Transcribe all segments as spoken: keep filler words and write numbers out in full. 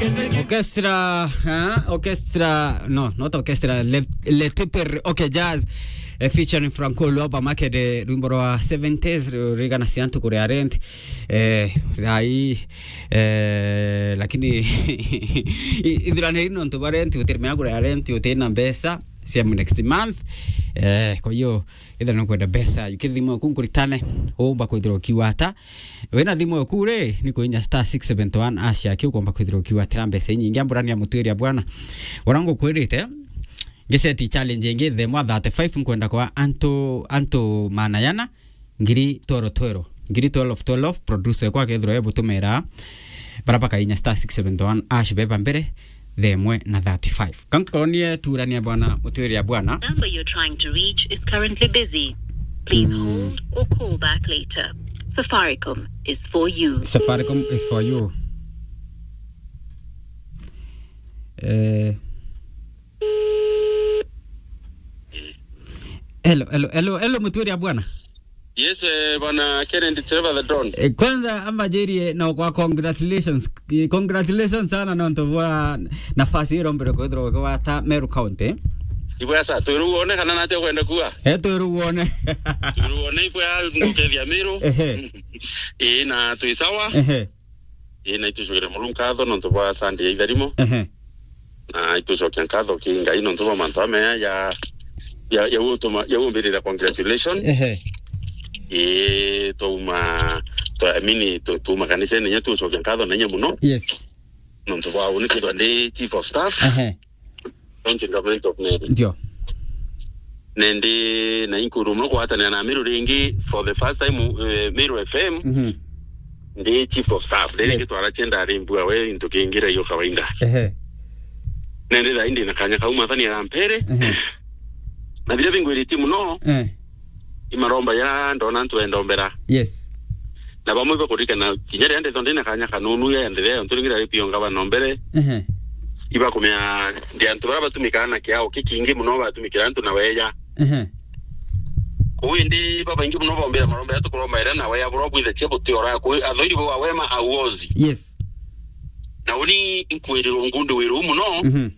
Orchestra, eh? Orchestra, no, not orchestra, Le, Le Tipper, okay, jazz, eh, featuring Franco Luoba Makede, rwimbo rwa seventies, ru-, rwigana cia ntuku ria rent, eh, rai, eh, lakini i-, ithirane ino ntu ba rent, utiri mea kuria rent, utina mbeca cia next month, eh, kwa hiyo, ethira nukwenda mbeca, ukithimwa kunkuritane, umba kwithirwa ukiuga ata, Wina thimu eku ri, ni kuinya star six seventy one hash yaki ukomba kwithirwa ukiuga atira mbeca inyingi. Amburania mutwiria bwana. Ura ngukwirite, ngiseti challenge ingi themwa thirty-five nkwenda kwa antu, antu manayana, ngiri twero twero. Ngiri twelve twelve, producer ekwa akethirwa ebutumira, bara bakainya star six seventy one hash beba mbere, themwe na thirty-five. Kankonie turania bwana, mutwiria bwana. Number you're trying to reach is currently busy. Please Mm. hold or call back later. Safaricom is for you. Safaricom is for you. Eh. Hello, hello, hello, hello, mutwiria bwana. Yes, eh, bwana Kennedy Trevor the Don. Eh, kwanza ambajirie na kwa congratulations. Eh, congratulations sana nontu bwa nafasi iro mbere kwithirwa ukiwata Meru County. Ibwesa, twiru wone kana nate kwenda kuwa? Eh, twiru wone. Twiru wone ibwa ngukethia Meru. Ehe. Ii, na twi sawa. Ehe. Ii, na itucokere Murungu nkatho nontu bwa Sunday ya itharimo. Ehe. Na itucokia nkatho ki Ngai nontu bwa mantu ameya ya, ya, ya utuma, ya umbirira congratulation. Ehe. Ii, twauma, twa-, I mean, tu-, tuuma kanisene, inya tucokia nkatho na inya muno. Yes. Nontu bwa uni kwithwa ndi chief of staff. Ehe. County Government of Meru. Ndio. Nendi na inkuru muno kwatanira na Meru ringi for the first time, eh, Meru F M. Mhm. Ndi chief of staff. Ndi Yes. ringi twara chenda ari mbua we into kingira iyo kawaida. Ehe. Nendi thaa indi na kanya kau mwathani arampere. Ehe. Na biria bingwiritie muno, Eh. i maromba ya ndona antu endombera. Yes. Na bamwe bakurikana kinya riria ndethwa ndina kanya kanunu ya nthithia yontu ringi rari pio ngavana o mbere. Ehe. Ibakumea ndi antu baria batumikaa na kiao kikingi muno batumikira antu na weya. Ehe. Kuu indi babaingi muno bombira maromba ya tukuromba iria na weya burwa bwithe cia butiora kuu athoiri bwa wema auozi. Yes. Na uni nkwirirwo ngundi wiru muno. Mhm.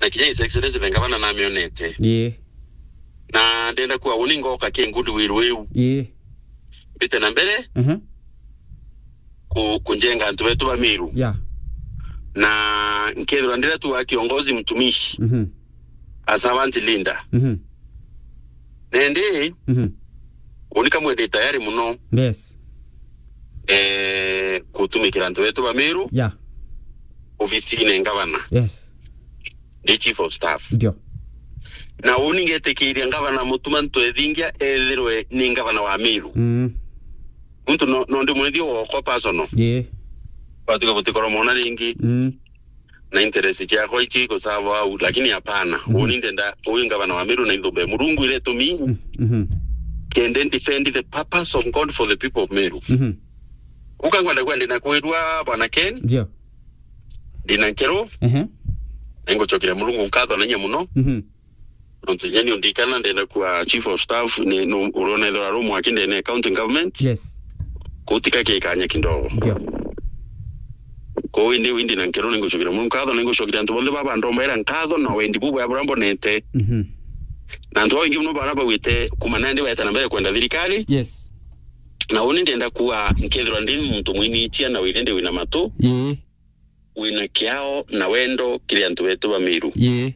Na kinya His Excellency the Governor namionete. Ii. Na ndenda kuga uni ngoka ki ngundi wiru iu. Ii. Mbite na mbere. Mhm. Ku-, kunjenga antu betu ba Meru. Yeah. Na nkethirwa ndira tu wa kiongozi mtumishi. Mhm. A servant leader. Mhm. Nendi, Mhm. uni kamwe ndi tayari muno. Yes. Eh, gutumikira antu betu ba Meru. Yeah. Ofisine ngavana. Yes. Ndi chief of staff. Ndio. Na uni ngetikiria ngavana Mutuma Ntwethingia ethirwe ni ngavana wa Meru. Mm. Muntu no, no ndi mwithio wokwa personal. Ye. Batuka butikora mona ringi. Mm. Na interest ciakwa ici kusava au, lakini hapana. Mhm. Uni ndenda, uyu ngavana wa Meru na ithumbe Murungu iretumi. Mm, mhm. Kende defend the purpose of God for the people of Meru. Mhm. Uka ngwenda kwenda na kwirua bwana Ken. Ndio. Ndina nkero. Ehe. Na ngucokera Murungu nkatho na inya muno. Mhm. Nontu inya ni undikana ndenda kuwa chief of staff ni, no, urona ithora ru mwaki ndene county government. Yes. Kutika kikanya kidogo. Ndio. Kuu indi windi na nkero ni ngucokera Murungu nkatho, ni ngucokera antu bonthe baba ndomba ira nkatho na wendi bubwa bura mbonete. Mhm. Na antu baingi muno bara bawite kuma nandi baeta na mbere kwenda thirikari. Yes. Na uni ndenda kuwa nkethirwa ndi muntu mwinichia na wire ndi wina matu. Ii. Wina kiao na wendo kiri antu betu ba Miru. Ii.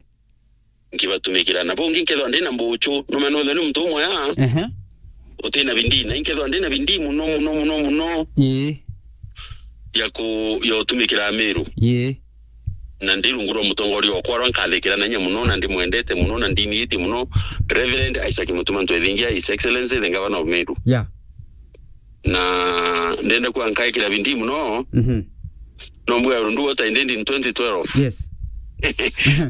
Nkibatumikira. Na bungi nkethwa ndina mbuchu, no mena wethwa ni muntu umwe ya. Ehe. Utina bindii, na inkethwa ndina bindii muno, muno, muno, muno. Ii. Ya ku-, ya utumikira Miru. Ii. Na ndi rungu rwa mutongoria okwa rwa nkathikira na inya muno, na ndimwendete muno, na ndiniitie muno, Reverend Isaac Mutuma Ntwethingia, His Excellency, the Governor of Meru. Yeah. Na ndenda kuga nkaikira bindii muno. Mhm. No mbwira undu what I did in twenty twelve. Yes.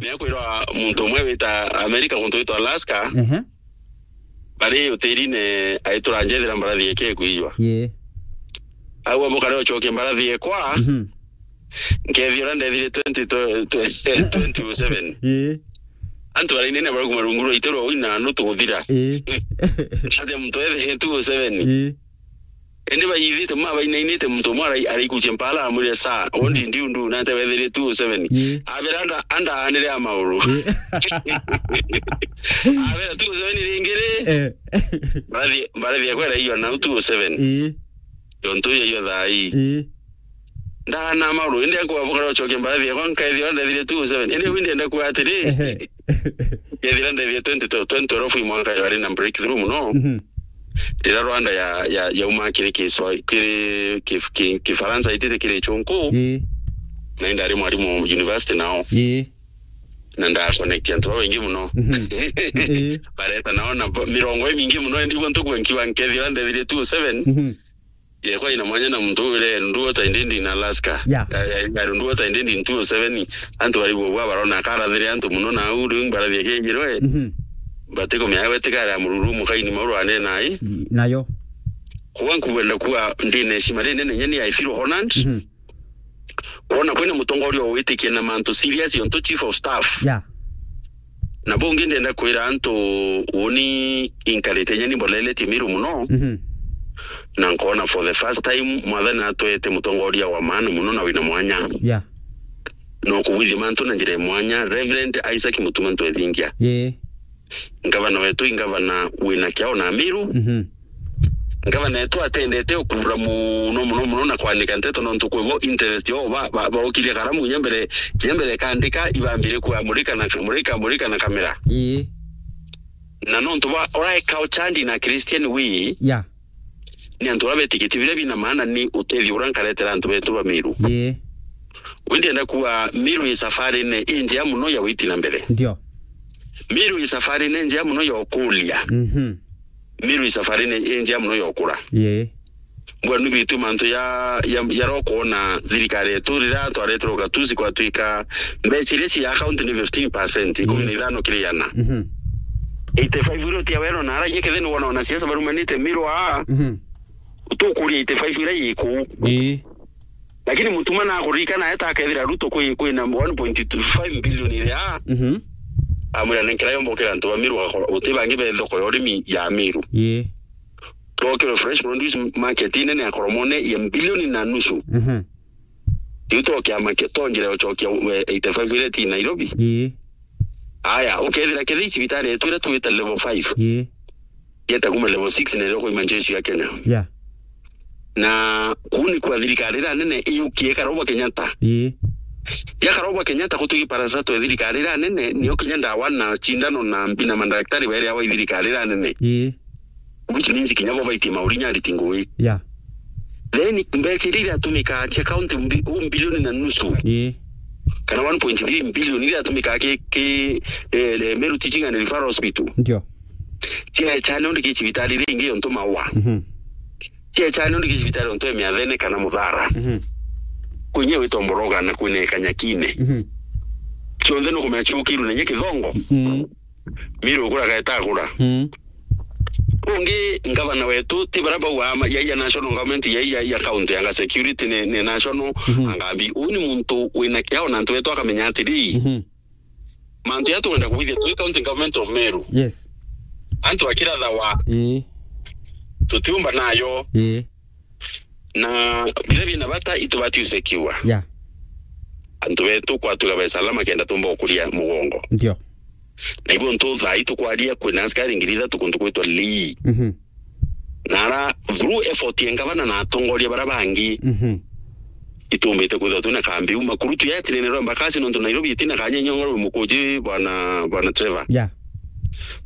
Ni akwirwa muntu umwe wita America, muntu witwa Alaska. Ehe. Bari utirine aitura njethira mbarathi eke kuijwa. Ye. Au amukare ucokie mbarathi ekwa. Mhm. Nkethi uria ndethire twenty, twenty oh seven. Ye. Antu barainene bari kuma rungu rwa ite rwa uina no tuguthira. Ye. Ate muntu ethe two oh seven. Ye. Indi baithite ma bainainite muntu umwe arai-, araikucia mpala amwire, "Sir, undi ndiu ndu nate wethirie two oh seven." Ii. Abera anda, anda anire a mauru. Ii. Abera two oh seven ringi ri. Eh. Mbarathi, mbarathi yakwa iraiyo na two oh seven. Ii. Yo ntu yo, yo thaa ii. Ii. Ndana mauru, indi akwa bukara ucoke mbarathi yakwa nkaithira ndethire two oh seven. Indi windi enda kuga atiri. Ehe. Kethira ndethire twenty twelve, twenty twelve i mwanka yari na breakthrough muno. Mhm. Rira Rwanda ya, ya, yauma kiri Kiswa-, kiri Kif-, Ki-, Kifaransa itite kiri Chonko. Ii. Na indari mwarimu university nao. Ii. Na nda connect antu babaingi muno. Mhm. Ii. Bareta nao na bo-, mirongo imingi muno, indi bo ntukwe nkiwa nkethira ndethire two oh seven. Mhm. Yekwa ina mwanya na muntu ule nduo ta indindi in Alaska. Yeah. Ya, ya, ya nduo ta indindi in two oh seven. Antu bari bwa barona karathire antu muno na au riu mbarathie kingirwe. Mhm. Batikumenya gwetikara mururu mukaini mauru ane nai. Nayo. Kwa nkuwenda kuwa ndine heshima rinene nyeni, I feel honored. Mhm. Wona kwina mutongoria witikia na mantu serious onto chief of staff. Yeah. Na bungi ndenda kwira antu uni inkarite nyeni mboleletie Miru muno. Mhm. Na nkona for the first time mwathani atwete mutongoria wa maana muno na wina mwanya. Yeah. No kugwithia mantu na njira ya mwanya, Reverend Isaac Mutuma Ntwethingia. Yeah. Ngavana wetu i ngavana wina kiao na Miru. Mhm. Ngavana wetu atendete ukura muno, muno, muno na kwanika nteto nontu kwi bo interest yao ba, ba, baokirie karamu kinya mbere, kinya mbere kandika ibambire kuamurika na, murika, murika na kamera. Ii. Na nontu ba, urae culture na Christian way. Yeah. Ni antu bara betikiti biria bina maana ni utethio uria nkaretera antu betu ba Miru. Ii. Wi ndienda kuwa Miru i safarine injea muno ya witi na mbere. Ndio. Miru i safarine injea muno ya ukuria. Mhm. Miru i safarine injea muno ya ukura. Ii. Mbwenu bitu mantu ya, ya, ya rokuona thirikari yetu riria twareterwo gatusi kwatwika mbeca iria cia account ni fifteen percent, ikumi na ithano kiri igana. Mhm. Eighty five iria utia wero na ara inye ketheni wona wanasiasa barumanite Miru aa. Mhm. Utukuria eighty five iria iku. Ii. Lakini Mutuma na akurika na eta akethira Ruto kwi, kwi na one point two five billion iria. Mhm. Amwira nenkera yombo kira antu ba Miru akora uti bangi be thoko ya urimi ya Miru. Ii. Twokirwe fresh produce market inene ya Koromone ya bilioni na nusu. Mhm. Riu to kiama kia, to njira ya ucokia, we, eighty five iria ti Nairobi. Ii. Aya, ukethira kethira cibitari yetu iria twita level five. Ii. Yeta kuma level six na iria kwa majeshi ya Kenya. Yeah. Na kuu ni kwa thirikari iria nene iyukie karauba Kenyatta. Ii. Ya karauba Kenyatta kutugi parasa twe thirikari iria nene, niyo kinya ndawa na cindano na mbi na madaktari bairi awa thirikari iria nene. Ii. Which means kinya bo baitie mauri nyariti ngui. Yeah. Then mbeca iria iratumika cia county mbi-, u bilioni na nusu. Ii. Kana one point three billion iria iratumika ki, ki, eh, eh, Meru Teaching and Referral Hospital. Ndio. Cia chane undi ki cibitari iria ingi yontu maua. Mhm. Cia chane undi ki cibitari yontu ya Miathene kana Muthara. Mhm. Kwenye witwa Mboroga na kwine Kanyakine. Mhm. Cionthe nukumenya ciukirwe na nye kithongo. Mhm. Miru igura gaeta agura. Mm. Ungi ngavana wetu ti bara bau ama, ya, ya national government, ya, ya, ya county, anga security ni, ni national, mhm, anga mbi. Uu ni muntu wina kiao na antu betu akamenya atiri. Mhm. Mantu ya tukwenda kuwithia twi county government of Meru. Yes. Antu akirathawa. Ii. Tutiumba nayo. Ii. Na biria bina bata itubati usekiwa. Yeah. Antu betu kwatuga be salama kenda tumba ukuria mugongo. Ndio. Na ibo ntu thaa itukwaria kwina askari ngiri ithatu kuntu kwitwa Lee. Mhm. Na ara through effort ya ngavana na atongoria bara bangi. Mhm. Itumbite kwithwa twina kambi uma kurutu ya tinene rwa mbakasi nontu Nairobi itina kanya nyongoro mukuji bwana, bwana Trevor. Yeah.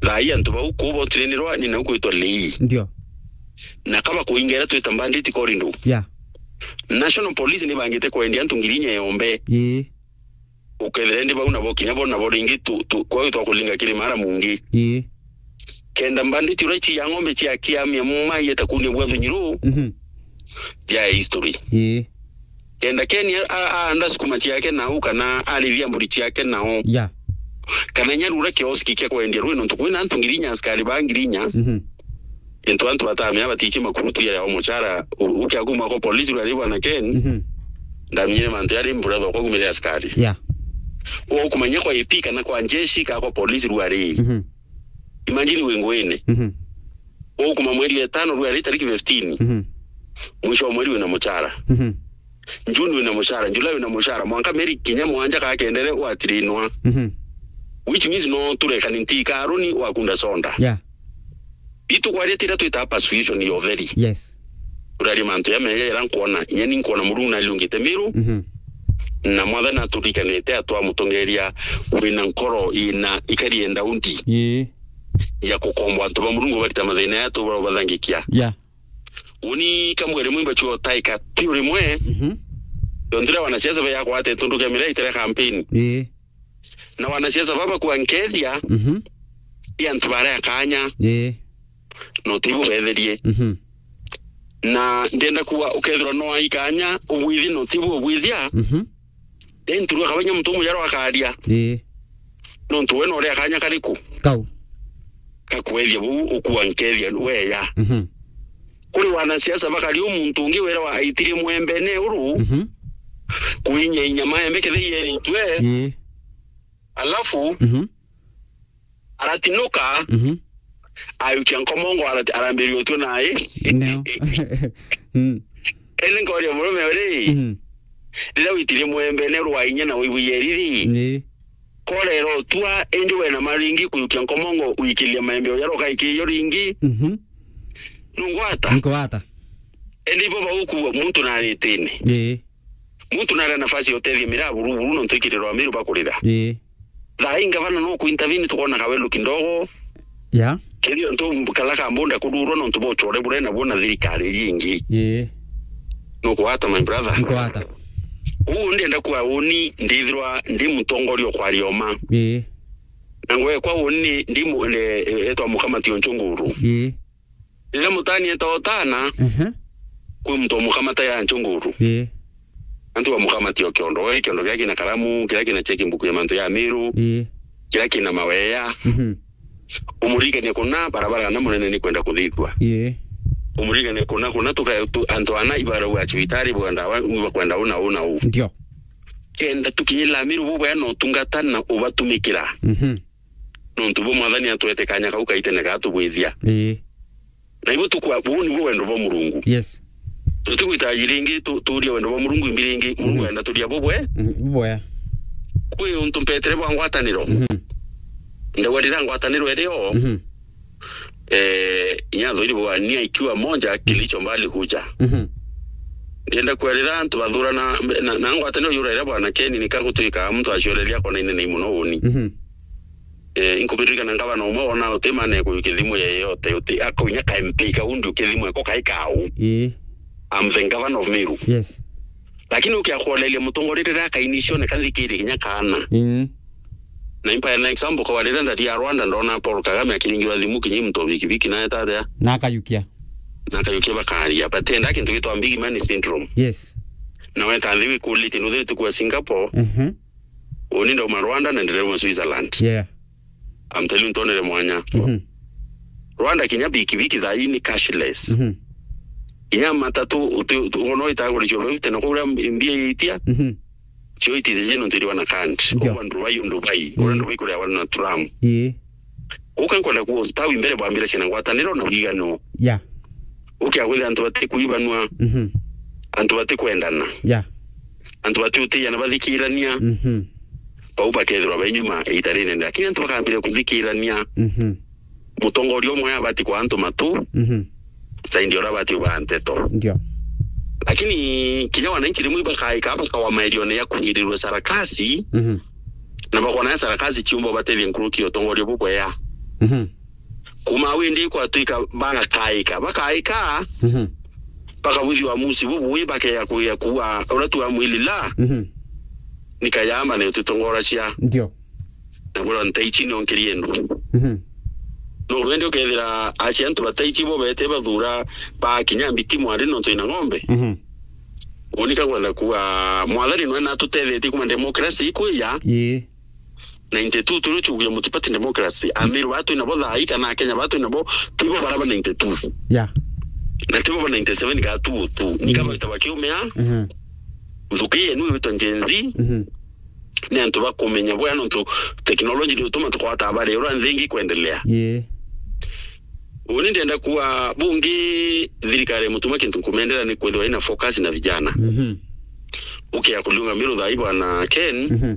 Thaa ii antu bau kubo tinene rwa ni nau kwitwa Lee. Ndio. Na kaba kuinga iria twita bandit corridor. Yeah. National Police ni bangite kwendia antu ngiri inya yombe. Ii. Ukethira ndi bau nabo kinya bo nabo ringi tu, tu, kwa twa kulinga kiri mara mungi. Ii. Kenda bandit uria ici ya ng'ombe cia kiamia mai eta kunia bwa thunyiru. Mhm. Ja history. Ii. Kenda Ken a, a, aanda sukuma ciake nao, kana arithia mburi ciake nao. Ya. Kana inya rura kioski kia kwendia rwi, nontu kwina antu ngiri inya, askari ba ngiri inya. Mhm. Into antu batamea batichi makurutu ya yao muchara, u-, ukia kuma kwa polisi rwari bwana Ken. Mhm. Ndamenyire mantu yari mbura thoko kumire askari. Ya. Ukumanya kwa A P kana kwa njeshi ka kwa polisi rwari. Mhm. Imagine wi nguine. Mhm. Ukuma mweri wa itano rwari tariki fifteen. Mhm. Mwisho wa mweri wina muchara. Mhm. June wina muchara, July wina muchara, mwanka mieri kinya mwanja ka kendere watirinwa. Mhm. Which means no turekani nti karuni wa kunda sonda. Yeah. Itu kwaria tira twita persuasion ya utheri. Yes. Turaria mantu ya meya ira nkwona, inya ni nkwona Murungu nariungite Miru. Mhm. Na Mwathani aturikanite atwa mutongeria wina nkoro ina ikari enda undi. Ii. Ya kukombo antu ba Murungu barita mathina ya tu bathangikia. Yeah. Uni kamwere mwimba chuo taika piu rimwe. Mhm. Yontira wanasiasa ba yakwa ate tundu kia mira itira campaign. Ii. Na wanasiasa baba kwa nkethia, mhm, i antu baria kanya. Ii. No tibu betherie. Mhm. Na ndenda kuwa ukethirwa no aikanya ubwithi no tibu ubwithia. Mhm. Then turua kabanya muntu mujarwa akaria. Ii. Nontu we no ria kanya kariku? Kau. Kakwethia buu ukua nkethia weya. Mhm. Kuri wanasiasa bakari umuntu ungi wera wa aitiri mwembene uru. Mhm. Kuinya inya maembe kethei yeritwe. Ii. Alafu, mhm, aratinuka, mhm, ayukia nkomongo arati-, arambiria utwe naye. No. Mm. Ene ngoria murume uri, mhm, riria witire mwembene rwa inya na wibuye riri. Ii. Korera utua, indi wena maringi kuyukia nkomongo wikiria maembe uya rukaikirio ringi. Mhm. Nungwata? Nkwata. Indi ibo baukuwa muntu naritine. Ii. Muntu nari na nafasi ya utethia miraa buru buru nontu ikirirwa Amiru bakurira. Ii. Thaa ii ngavana no kuintervene, tukona kawelu kidogo. Ya. Kethio ntu kala kambunda kururwa nontu bwa uchore buria nabuo na thirikari iji ingi. Ii. Nukwata, my brother? Nkwata. Uu ndienda kuwa uni ndithirwa ndi mutongoria ukwaria uma. Ii. Na ngwekwa uni ndi mu-, ne-, etwa mukamati o Nchunguru. Ii. Riria mutani eta utana, ehe, kwi muntu umukamata ya Nchunguru. Ii. Antu bamukamati o kiondo, we kiondo kiria kina karamu, kiria kina checkbook ya mantu ya Miru, ii, kiria kina maweya. Mhm. Umurigania kuna barabara na munene ni kwenda kuthithua. Ii. Umurigania kuna, kuna tuka-, tu-, antu ana ibarauga cibitari bwenda wa, bakwenda una, una u. Ndio. Kenda tukinyira Miru bubwea na utungata na ubatumikira. Mhm. Nontu bwa Mwathani atwete kanya kau kaitene gatubwithia. Ii. Na ibo tukwa, buu nibu wendo bwa Murungu. Yes. Tutigwita iji ringi, tu-, turia wendo bwa Murungu imbi ringi. Murungu, mhm, enda turia bubwe. Mhm, bubwe. Kwi untu mpetere bwa ngwataniro. Mhm. Ndauga rira ngwataniro irio, mhm, eh, inya thwiri bwa nia ikiwa moja, mhm, kilicho mbali huja. Mhm. Ndienda kwarira antu bathurana, na, na ngwataniro yura iria bwana Keni nika gutwika muntu acioreria akona inene muno uni. Mhm. Eh, inkubiririkana ngavana umwe wona uti mane kuyukia thimu yeyote, uti akunya ka M P kau ndi ukia thimu eko kai kau. Ii. I'm the governor of Meru. Yes. Lakini ukia kuoneria mutongoria riria akainicione kathikiri kinya kana. Mm. Na impa an example kwa riria ndari ya Rwanda ndona Paul Kagame akiringirwa thimu kinya muntu wa bikibiki na etaria. Na akayukia. Na akayukia bakaria. But enda kintu gitwa big man syndrome. Yes. Na weta nthi wikulite no thiri tukua Singapore. Mhm. Uni ndauma Rwanda na ndirauma Switzerland. Yeah. I'm telling you, ntonere mwanya. Mhm. Rwanda kinya bikibiki thaa ii ni cashless. Mhm. Kinya matatu uti, uti, uno itaguricua bau tene kuria mbia itia. Mhm. Cio itithie nontu iriwa na card. Ndio. Uwa Dubai, Dubai. Ii. Uria Dubai kuria wana na Trump. Ii. Uka nkwenda kuwa ustawi mbere bwambire ciana ngwataniro na wigano. Yeah. Ukia kwithira antu batikuibanua. Mhm. Antu batikwendana. Yeah. Antu batiutiana bathikirania. Mhm. Bau bakethirwa bai nyuma iita rinene. Lakini antu bakambire kuthikirania. Mhm. Mutongoria umwe abati kwa antu matu. Mhm. Saindi uria abati uba nteto. Ndio. Lakini kinya wananchi rimwe ibakaika bakawa mairione ya kunyirirwe sarakasi. Mhm. Na bakona ya sarakasi ciumba batethie nkuruki ya utongoria bubwea. Mhm. Kuma windi kwatwika bagakaika, bakaika, mhm, bakabuthi uamusi bubui, bakeya kuya kuwa uria tu amwilila. Mhm. Nikayamba ne utitongoracia. Ndio. Na bura ntaichi nionkerie ndu. Mhm. No wende ukethira acia antu bataichi bo bete bathura bakinya mbiti mwari nontu ina ng'ombe. Mhm. Unika kwenda kuwa mwathani nwe natutethetie kuma democracy ikwija. Ii. Ninety-two turi chugia multiparty democracy. Amiru batu inabo thaa ii kana Akenya batu inabo tibo baraba ninety-two. Yeah. Na tibo ba ninety-seven gatu tu. Nika, mm, baita bakiumia. Mhm. Nthuki yenu ibitwa Gen Z. Mhm. Ni antu bakumenya bwega nontu technology ni utuma tukwata habari uria nthi ingi kwendelea. Ii. Uni ndenda kuwa bungi thirikari ya Mutuma kintu nkumendera ni kwithirwa ina focus na vijana. Mhm. Ukia kuliunga Meru thaa ii bwana Ken, Mhm.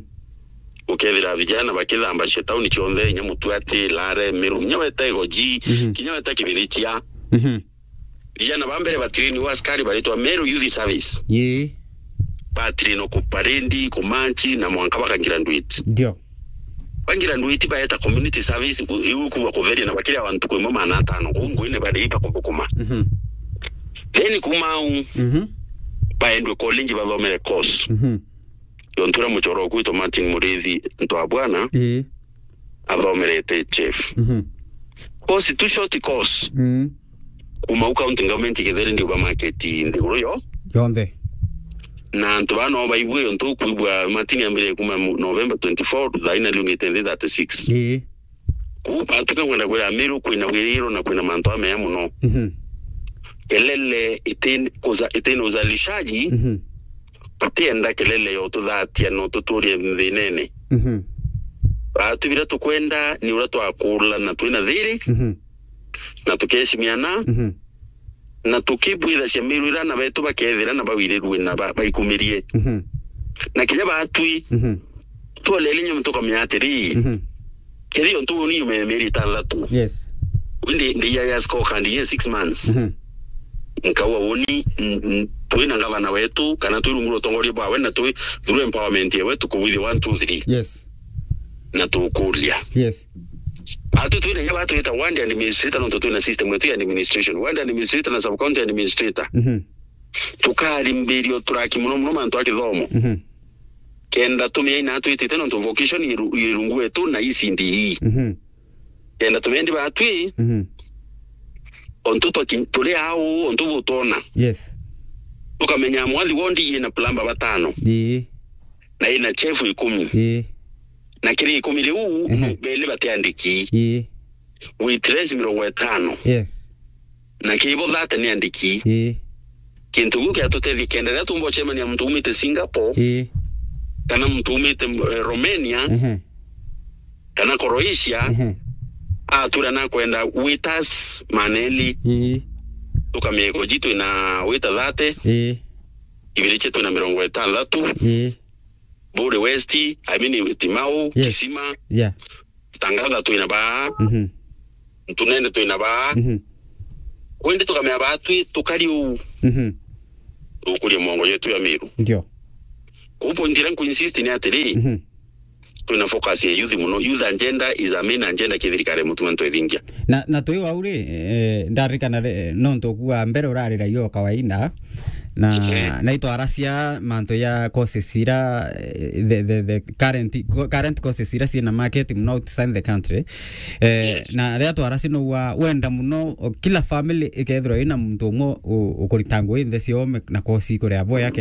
ukethira vijana bakithambashia tauni cionthe, inya Mutuati, Lare, Meru, inya weta Igoji, Mhm. kinya weta Kibirichia. Mhm. Vijana ba mbere batrainiwa askari baritwa Meru Youth Service. Ii. Batrainwa kuparedi, kumanchi, na mwanka bakagraduate. Ndio. Bagraduate baeta community service, ku-, iu kuwa kutheria na bakiria bantu kwimwe maana atano, kuu nguine bari bakuthukuma. Mhm. Then kuma au, Mhm. baendwe college bathomere course. Mhm. Yo ntura muchoro kwitwa Martin Murithi, ntu wa bwana, Ii. athomerete chef. Mhm. Course tu short course. Mm. Kuma u county government Githeri ndio ba market nthiguru yo. Yonthe. Na antu bano baigwe yo ntu kwigwa Martin ambire kuma mu-, November twenty-four, thaa ina liungite nthi thirty-six. Ii. Kuu batuka kwenda kwira Meru kwina wiriro na kwina mantu amea muno. Mhm. Kelele itin-, uza-, itina uzalishaji, Mhm. tutienda kelele yo tuthatia no tuturie thinene. Mhm. Batu bira tukwenda ni uria twakula na twina thiri, Mhm. na tukeshimiana, Mhm. na tukibwithacia Meru ira na betu bakethira na bawirirue na ba-, baikumirie. Mhm. Na kinya batwi, Mhm. twolele nyuma tukamenya atiri, Mhm. kethi yo ntu ni yume mieri itantatu. Yes. Indi ndi ya, ya scorecard ye six months. Mhm. Nkauga uni, n-, n-, twina ngavana wetu, kana twi rungu rwa utongoria bwawe, na twi through empowerment yewe, tukubwithia one, two, three. Yes. Na tukuria. Yes. Atu twina inya batwita ward administrator, nontu twina system yetu ya administration. Ward administrator na sub county administrator. Mhm. Tukarimbirio turaki muno muno mantu a kithomo. Mhm. Kenda tumia ina twitite nontu vocation iru-, irungu wetu na E C D E. Mhm. Kenda tumendi batwi, Mhm. ontu twaki-, turi au, ontu butwona. Yes. Tukamenya mwathi wondi ina plumber batano. Ii. Na ina chef ikumi. Ii. Na kiri ikumi riu, Ehe. beli batiandiki. Ii. Waitress mirongo itano. Yes. Na kibo thate ni andiki. Ii. Kintu kiu kiatutethia kenda riria tumba ucemania na muntu umite Singapore, Ii. kana muntu umite, eh, Romania, Ehe. kana Croatia, Ehe. atura na kwenda waiters maneli. Ii. Tukameko ji twina waiter thate, Ii. Kibirichia twina mirongo itantatu, Ii. Buri West, I mean, Timau, Yes. Kisima, Yeah. Tangatha twina baa, Mhm. Ntunene twina baa. Mhm. Kwindi tukamenya baa twi tukari uu. Mhm. Tukuria mongo yetu ya Meru. Ndio. Kuu point iria nkuinsist ni atiri, Mhm. twina focus ya youth muno. Youth agenda is a main agenda ki thirikari ya Mutuma ntu ithingia. Na, na twi wau ri, eh, ndarikana ri, nontu kuwa mbere urarira yo kawaida. Na, Ehe. na itwaracia mantu ya courses ira, eh, the, the, the current, co-, current courses ira ciina market muno outside the country. Eh, Yes. na riria twaracia no wa wenda muno, o, kila family ikethirwa ina muntu umwe u-, ukurita ngui nthe ciome na course ikuria boya kenda